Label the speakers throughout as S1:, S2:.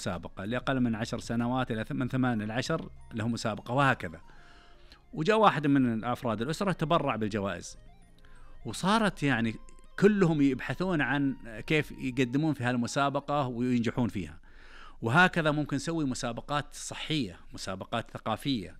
S1: مسابقة، اللي أقل من 10 سنوات إلى من 8 إلى 10 له مسابقة، وهكذا. وجاء واحد من أفراد الأسرة تبرع بالجوائز، وصارت يعني كلهم يبحثون عن كيف يقدمون في هالمسابقة وينجحون فيها. وهكذا ممكن نسوي مسابقات صحية، مسابقات ثقافية،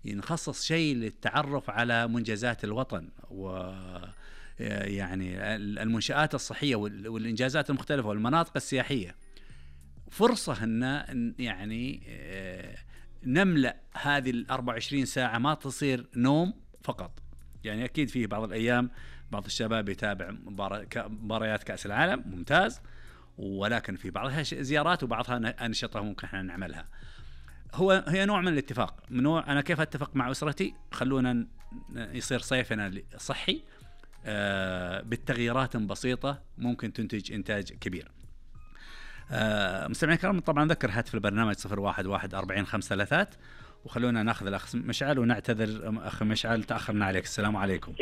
S1: نخصص شيء للتعرف على منجزات الوطن ويعني المنشآت الصحية والإنجازات المختلفة والمناطق السياحية. فرصة أن يعني نملأ هذه 24 ساعة، ما تصير نوم فقط. يعني أكيد فيه بعض الأيام بعض الشباب يتابع مباريات كأس العالم، ممتاز، ولكن في بعضها زيارات وبعضها أنشطة ممكن احنا نعملها. هي نوع من الاتفاق، من نوع أنا كيف أتفق مع أسرتي، خلونا يصير صيفنا صحي بالتغييرات بسيطة ممكن تنتج إنتاج كبير. مستمعين الكرام، طبعا ذكر هاتف البرنامج 01144553، وخلونا ناخذ الأخ مشعل ونعتذر أخ مشعل تأخرنا عليك. السلام عليكم.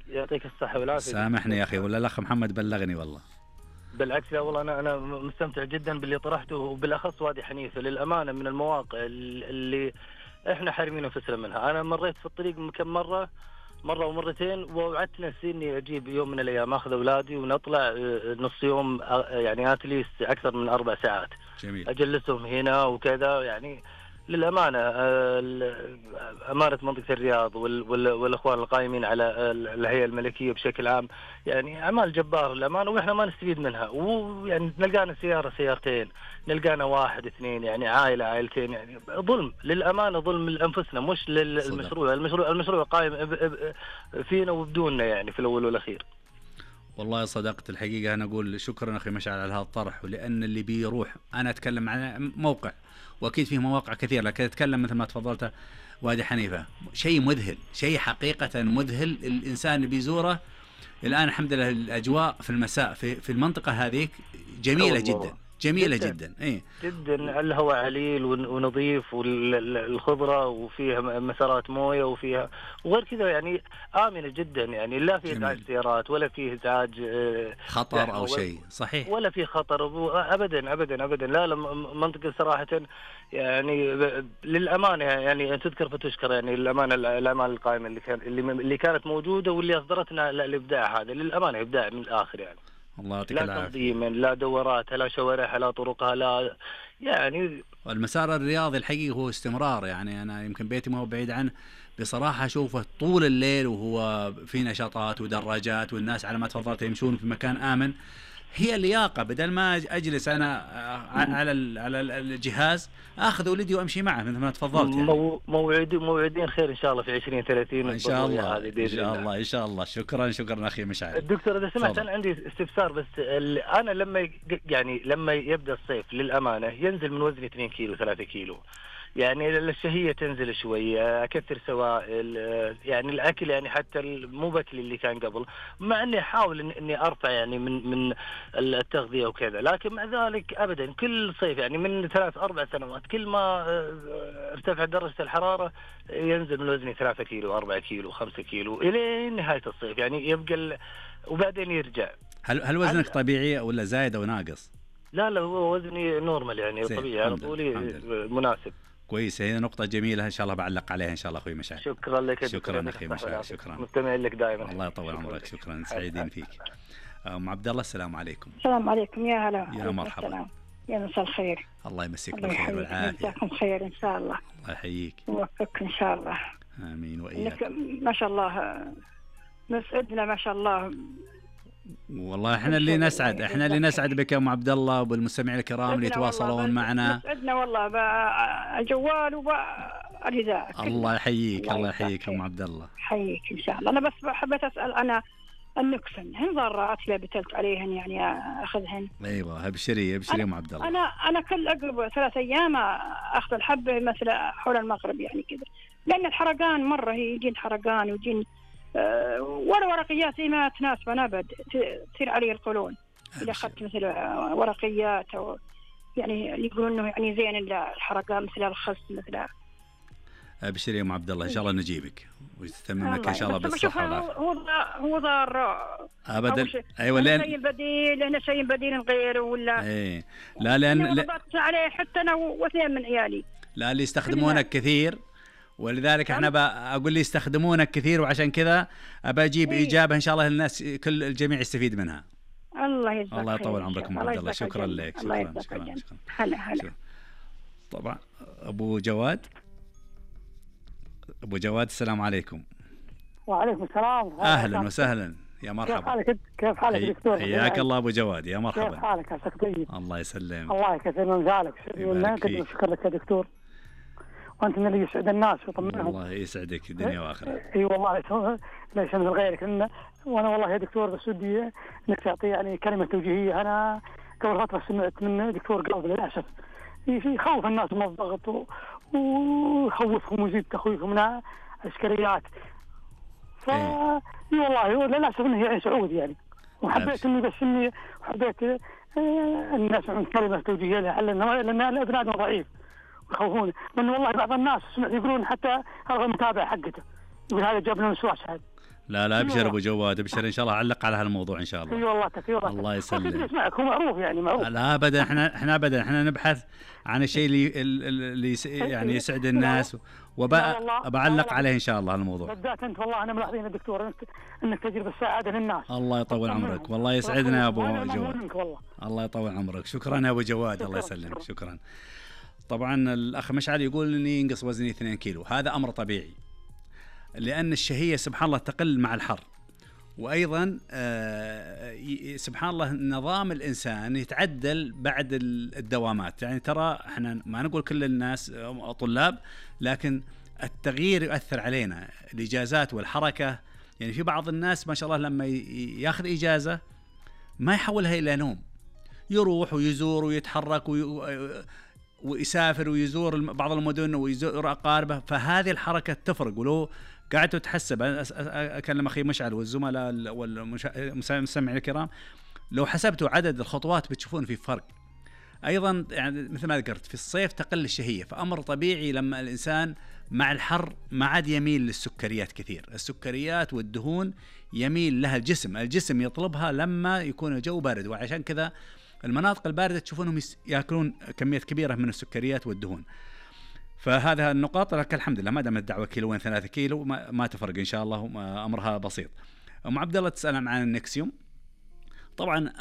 S2: يعطيك الصحة والعافية.
S1: سامحني يا أخي، ولا الأخ محمد بلغني والله.
S2: بالعكس، لا والله أنا مستمتع جدا باللي طرحته، وبالأخص وادي حنيفة للأمانة من المواقع اللي إحنا حارمين أنفسنا منها. أنا مريت في الطريق كم مرة ومرتين، ووعدت نفسي إني أجيب يوم من الأيام أخذ أولادي ونطلع نص يوم، يعني أتليس أكثر من 4 ساعات.
S1: جميل.
S2: أجلسهم هنا وكذا. يعني للأمانة أمانة منطقة الرياض والأخوان القائمين على الهيئة الملكية بشكل عام، يعني أعمال جبار للأمانة، وإحنا ما نستفيد منها. ويعني نلقانا سيارتين، نلقانا 1 2، يعني عائلتين، يعني ظلم للأمانة، ظلم لأنفسنا مش للمشروع. المشروع قائم فينا وبدوننا يعني في الأول والأخير.
S1: والله صدقت الحقيقة. أنا أقول شكرا أخي مشعل على هذا الطرح، ولأن اللي بيروح، أنا أتكلم عن موقع وأكيد فيه مواقع كثيرة، لكن أتكلم مثل ما تفضلت وادي حنيفة، شيء مذهل، شيء حقيقة مذهل. الإنسان اللي بيزوره الآن الحمد لله الأجواء في المساء في المنطقة هذيك جميلة جدا، جميلة جدا. إيه
S2: جدا، الهواء عليل ونظيف، والخضرة، وفيها مسارات موية، وفيها وغير كذا يعني آمنة جدا، يعني لا في إزعاج سيارات ولا في إزعاج
S1: خطر أو شيء. صحيح،
S2: ولا في خطر أبدا أبدا أبدا. لا منطقة صراحة يعني للأمانة يعني تذكر فتشكر، يعني للأمانة الأعمال القائمة اللي كانت موجودة واللي أصدرتنا الإبداع هذا للأمانة إبداع من الآخر. يعني
S1: الله يعطيك
S2: لا
S1: العافية.
S2: تنظيما، لا دورات، لا شوارعها، لا طرقها، لا يعني.
S1: المسار الرياضي الحقيقي هو استمرار. يعني أنا يمكن بيتي ما هو بعيد عنه، بصراحة أشوفه طول الليل وهو في نشاطات ودراجات، والناس على ما تفضلت يمشون في مكان آمن. هي اللياقة، بدل ما أجلس أنا على الجهاز أخذ ولدي وأمشي معه مثل ما تفضلت. يعني
S2: موعدين خير إن شاء الله في 2030
S1: إن شاء الله إن شاء الله. شكرا أخي مشعل.
S2: الدكتور إذا سمحت، أنا عندي استفسار بس. أنا لما يبدأ الصيف للأمانة ينزل من وزني 2 كيلو 3 كيلو، يعني الشهية تنزل شوية، أكثر سوائل، يعني الأكل يعني حتى مو بأكل اللي كان قبل، مع أني أحاول إني أرفع يعني من التغذية وكذا، لكن مع ذلك أبدا كل صيف يعني من 3-4 سنوات كل ما ارتفع درجة الحرارة ينزل من وزني 3 كيلو 4 كيلو 5 كيلو إلى نهاية الصيف، يعني يبقى وبعدين يرجع.
S1: هل وزنك طبيعي ولا زايد أو ناقص؟
S2: لا هو وزني نورمال، يعني طبيعي، على طولي مناسب.
S1: كويس، هي نقطة جميلة إن شاء الله بعلق عليها إن شاء الله أخوي مشعل.
S2: شكرا لك.
S1: شكرا أخي مشعل، شكرا،
S2: مستمعين لك دائما.
S1: الله يطول عمرك. شكرا، سعيدين فيك. أم عبد الله، السلام عليكم.
S3: السلام عليكم. يا هلا،
S1: يا مرحبا،
S3: يا مساء الخير.
S1: الله يمسيك بالخير والعافية.
S3: مساكم خير إن شاء الله.
S1: الله يحييك
S3: ووفقك إن شاء الله.
S1: آمين وإياك.
S3: ما شاء الله مسعدنا ما شاء الله.
S1: والله احنا اللي نسعد بك يا ام عبد الله وبالمستمعين الكرام اللي يتواصلون معنا.
S3: مسعدنا والله بالجوال وبالإذاعة.
S1: الله يحييك يا ام عبد الله.
S3: حييك ان شاء الله. انا بس حبيت اسال، انا النكسن هن ضارات لا بتلت عليهن يعني اخذهن؟
S1: ايوه ابشري يا ام عبد الله.
S3: انا كل اقرب 3 أيام اخذ الحبه مثل حول المغرب يعني كذا، لان الحرقان مره يجين حرقان ويجين ولا ورقيات زي ما تناسب ابد تصير علي القولون اذا اخذت مثل ورقيات أو يعني يقولون انه يعني زين الحرقان مثل الخس مثل.
S1: ابشر يا ام عبد الله ان شاء الله نجيبك ويتممك ان شاء الله بالصحه والعافيه.
S3: هو ضار
S1: ابدا. ايوه لان
S3: شيء بديل، لنا شيء بديل غيره ولا
S1: ايه لا لان
S3: عليه حتى انا واثنين من عيالي
S1: لا اللي يستخدمونك كثير، ولذلك احنا اقول لي يستخدمونك كثير، وعشان كذا ابى اجيب اجابه ان شاء الله الناس كل الجميع يستفيد منها.
S3: الله يجزاك
S1: الله يطول عمرك ام عبد الله. شكرا لك.
S3: شكرا. هلا.
S1: طبعا ابو جواد السلام عليكم.
S4: وعليكم السلام.
S1: اهلا وسهلا يا مرحبا.
S4: كيف حالك دكتور؟
S1: حياك الله ابو جواد، يا مرحبا.
S4: كيف حالك؟ عساك طيب.
S1: الله يسلمك.
S4: الله يكثر من ذلك. شكرا لك يا دكتور، وانت من اللي يسعد الناس ويطمنهم. الله
S1: يسعدك الدنيا واخره.
S4: اي والله لا يشمل غيرك لنا. وانا والله يا دكتور بس ودي انك تعطي يعني كلمه توجيهيه. انا قبل فتره سمعت من دكتور قلب للاسف يخوف الناس من الضغط ويخوفهم ويزيد تخويفهم من عسكريات. والله للاسف انه يعني سعودي يعني، وحبيت اني بس اني حبيت الناس عن كلمه توجيهيه لان الابناء ضعيف ويخوفون. لان والله بعض الناس سمعت يقولون حتى هذا المتابع حقته يقول هذا جاب لنا وسواس هذا.
S1: لا ابشر ابو جواد، ابشر ان شاء الله علق على هالموضوع ان شاء الله.
S4: اي والله
S1: الله يسلمك.
S4: اسمعك هو معروف يعني معروف.
S1: لا ابدا، احنا نبحث عن الشيء اللي يعني يسعد الناس، وبعلق عليه ان شاء الله الموضوع.
S4: بالذات انت والله انا ملاحظين يا دكتور انك تجرب السعاده للناس.
S1: الله يطول عمرك، والله يسعدنا يا ابو جواد. الله يطول عمرك. شكرا يا ابو جواد. الله يسلمك. شكرا. طبعا الاخ مشعل يقول اني ينقص وزني 2 كيلو. هذا امر طبيعي، لأن الشهية سبحان الله تقل مع الحر، وأيضا سبحان الله نظام الإنسان يتعدل بعد الدوامات. يعني ترى احنا ما نقول كل الناس طلاب، لكن التغيير يؤثر علينا، الإجازات والحركة. يعني في بعض الناس ما شاء الله لما ياخذ إجازة ما يحولها إلى نوم، يروح ويزور ويتحرك ويسافر ويزور بعض المدن ويزور أقاربه، فهذه الحركة تفرق. ولو قعدتوا تحسب، أكلم أخي مشعل والزملاء والمستمعين الكرام، لو حسبتوا عدد الخطوات بتشوفون في فرق. أيضا يعني مثل ما ذكرت في الصيف تقل الشهية، فأمر طبيعي لما الإنسان مع الحر ما عاد يميل للسكريات كثير. السكريات والدهون يميل لها الجسم يطلبها لما يكون الجو بارد، وعشان كذا المناطق الباردة تشوفونهم يأكلون كميات كبيرة من السكريات والدهون. فهذا النقاط لك الحمد لله، ما دام الدعوة كيلوين 3 كيلو ما تفرق إن شاء الله، أمرها بسيط. أم عبد الله تسأل عن النكسيوم. طبعا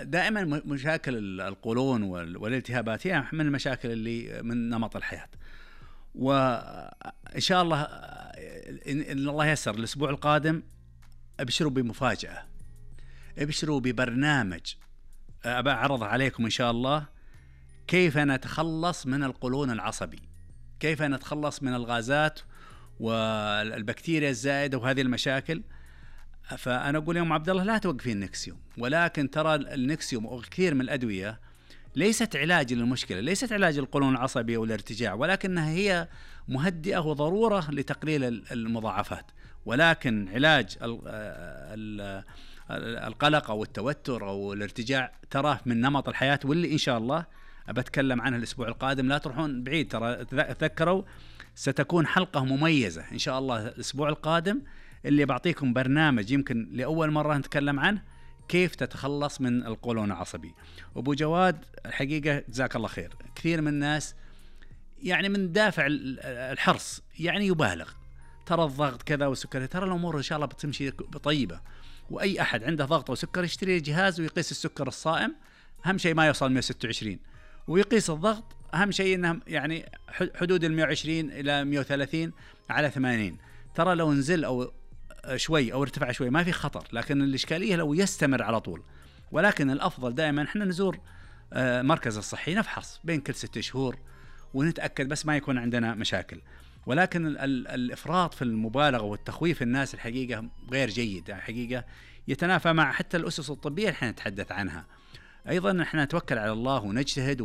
S1: دائما مشاكل القولون والالتهابات هي من المشاكل اللي من نمط الحياة، وإن شاء الله إن الله يسر الأسبوع القادم أبشروا بمفاجأة، أبشروا ببرنامج أبى أعرض عليكم إن شاء الله كيف نتخلص من القولون العصبي، كيف نتخلص من الغازات والبكتيريا الزائدة وهذه المشاكل. فأنا أقول يوم عبد الله لا توقفين النكسيوم، ولكن ترى النكسيوم وكثير من الأدوية ليست علاج للمشكلة، ليست علاج القولون العصبي أو الارتجاع، ولكنها هي مهدئة وضرورة لتقليل المضاعفات. ولكن علاج القلق أو التوتر أو الارتجاع تراه من نمط الحياة، واللي إن شاء الله أبتكلم عنها الأسبوع القادم. لا تروحون بعيد، ترى تذكروا ستكون حلقة مميزة إن شاء الله الأسبوع القادم، اللي بعطيكم برنامج يمكن لأول مرة نتكلم عنه، كيف تتخلص من القولون العصبي. أبو جواد الحقيقة جزاك الله خير، كثير من الناس يعني من دافع الحرص يعني يبالغ، ترى الضغط كذا والسكري، ترى الأمور إن شاء الله بتمشي بطيبة. وأي أحد عنده ضغط أو سكر يشتري جهاز ويقيس السكر الصائم، أهم شيء ما يوصل 126، ويقيس الضغط أهم شيء إنه يعني حدود 120 إلى 130 على 80. ترى لو نزل أو شوي أو ارتفع شوي ما في خطر، لكن الإشكالية لو يستمر على طول. ولكن الأفضل دائما إحنا نزور مركز الصحي، نفحص بين كل 6 شهور ونتأكد بس ما يكون عندنا مشاكل. ولكن الإفراط في المبالغة والتخويف الناس الحقيقة غير جيد، الحقيقة يتنافى مع حتى الأسس الطبية اللي احنا نتحدث عنها. أيضا احنا نتوكل على الله ونجتهد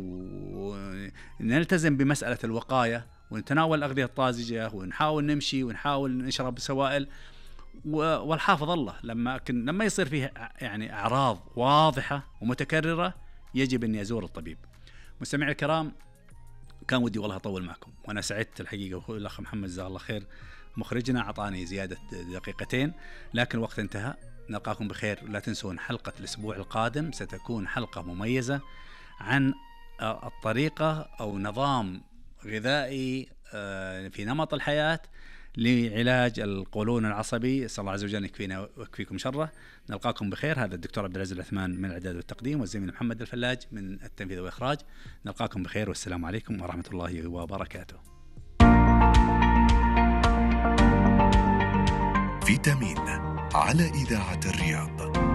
S1: ونلتزم بمسألة الوقاية، ونتناول الأغذية الطازجة، ونحاول نمشي ونحاول نشرب سوائل، والحافظ الله لما يصير فيه يعني أعراض واضحة ومتكررة يجب أن يزور الطبيب. مستمعي الكرام، كان ودي والله أطول معكم، وأنا سعدت الحقيقة. والأخ محمد جزاه الله خير مخرجنا أعطاني زيادة دقيقتين، لكن الوقت انتهى. نلقاكم بخير. لا تنسون حلقة الأسبوع القادم ستكون حلقة مميزة عن الطريقة أو نظام غذائي في نمط الحياة لعلاج القولون العصبي. أسأل الله عز وجل يكفينا ويكفيكم شره. نلقاكم بخير. هذا الدكتور عبد العزيز العثمان من الإعداد والتقديم، والزميل محمد الفلاج من التنفيذ والإخراج. نلقاكم بخير والسلام عليكم ورحمة الله وبركاته.
S5: فيتامين على إذاعة الرياض.